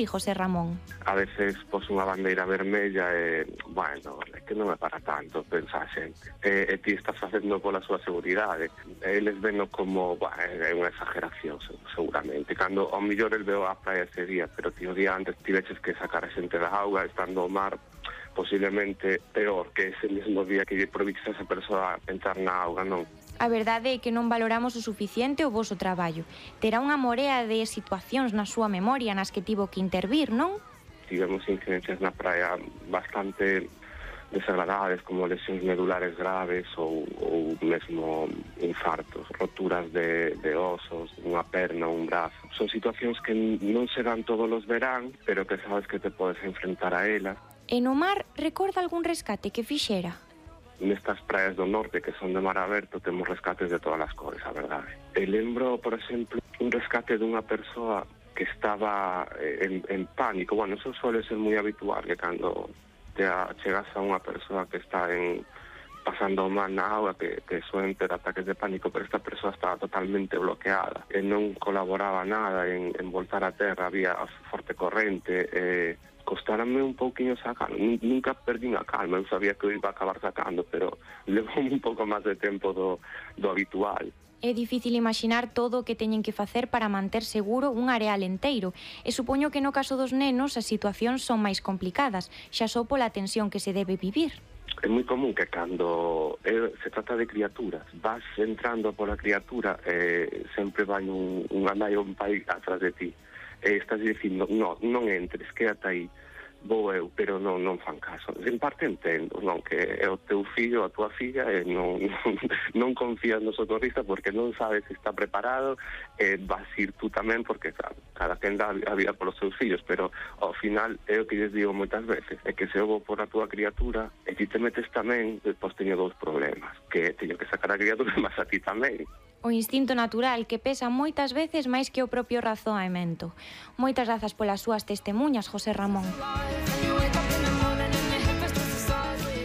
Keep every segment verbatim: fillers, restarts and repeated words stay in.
así, José Ramón. A veces pos unha bandeira vermella e, bueno, é que non é para tanto, pensa a xente. E, e ti estás facendo pola súa seguridade. Eles veno como, bueno, é unha exageración, seguramente. Cando ao millor el veo a praia ese día, pero ti o día antes tiveches que sacar a xente da auga, estando ao mar, posiblemente peor que ese mesmo día que lle proviches a esa persoa a entrar na auga, non? A verdade é que non valoramos o suficiente o voso traballo. Terá unha morea de situacións na súa memoria nas que tivo que intervir, non? Tivemos incidencias na praia bastante desagradables, como lesións medulares graves ou, ou mesmo infartos, roturas de, de osos, unha perna, un brazo. Son situacións que non se dan todos os verán, pero que sabes que te podes enfrentar a elas. E no mar, recorda algún rescate que fixera? Nestas praias do norte que son de mar aberto temos rescates de todas as cores, a verdade. E lembro, por exemplo, un rescate dunha persoa que estaba en, en pánico. Bueno, eso suele ser moi habitual, que cando te chegas a unha persoa que está en pasando mal na auga, que, que suelen ter ataques de pánico, pero esta persoa estaba totalmente bloqueada e non colaboraba nada en, en voltar a terra, había forte corrente, e costárame un pouquinho sacar. Nunca perdín a calma, eu sabía que eu iba a acabar sacando, pero levou un pouco máis de tempo do, do habitual. É difícil imaginar todo o que teñen que facer para manter seguro un areal enteiro, e supoño que no caso dos nenos as situacións son máis complicadas, xa só pola tensión que se debe vivir. É moi común que cando eh, se trata de criaturas, vas entrando pola criatura e eh, sempre vai un, un nai ou un pai atrás de ti. E estás dicindo, no, non entres, quédate aí, vou eu, pero non, non fan caso. En parte entendo, non, que é o teu fillo, a tua filla, e non, non, non confías no socorrista porque non sabes se está preparado, e vas ir tú tamén porque, claro, cada quen dá a vida polos seus fillos, pero ao final é o que lles digo moitas veces, é que se eu vou por a tua criatura e ti te metes tamén, depois teño dous problemas, que teño que sacar a criatura, mas a ti tamén. O instinto natural que pesa moitas veces máis que o propio razoamento. Moitas grazas polas súas testemuñas, José Ramón.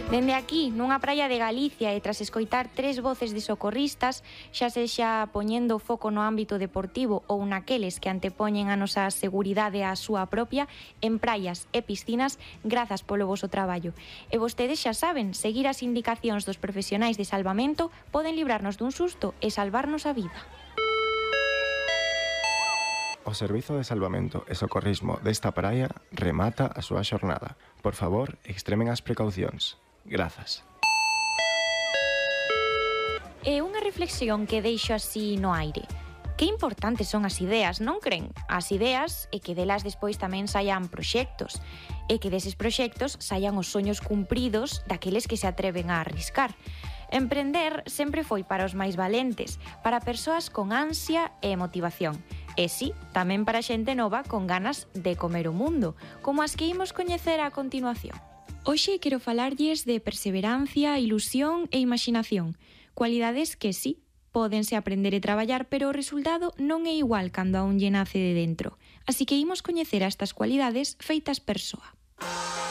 Dende aquí, nunha praia de Galicia e tras escoitar tres voces de socorristas, xa sexa poñendo o foco no ámbito deportivo ou naqueles que antepoñen a nosa seguridade á súa propia, en praias e piscinas, grazas polo voso traballo. E vostedes xa saben, seguir as indicacións dos profesionais de salvamento poden librarnos dun susto e salvarnos a vida. O Servizo de Salvamento e Socorrismo desta praia remata a súa xornada. Por favor, extremen as precaucións. Grazas. E unha reflexión que deixo así no aire. Que importantes son as ideas, non cren? As ideas e que delas despois tamén saian proxectos. E que deses proxectos saian os soños cumpridos daqueles que se atreven a arriscar. Emprender sempre foi para os máis valentes, para persoas con ansia e motivación. E si, tamén para xente nova con ganas de comer o mundo, como as que imos coñecer a continuación. Hoxe quero falarlles de perseverancia, ilusión e imaginación, cualidades que sí, pódense aprender e traballar, pero o resultado non é igual cando a un lle nace de dentro. Así que imos coñecer a estas cualidades feitas persoa.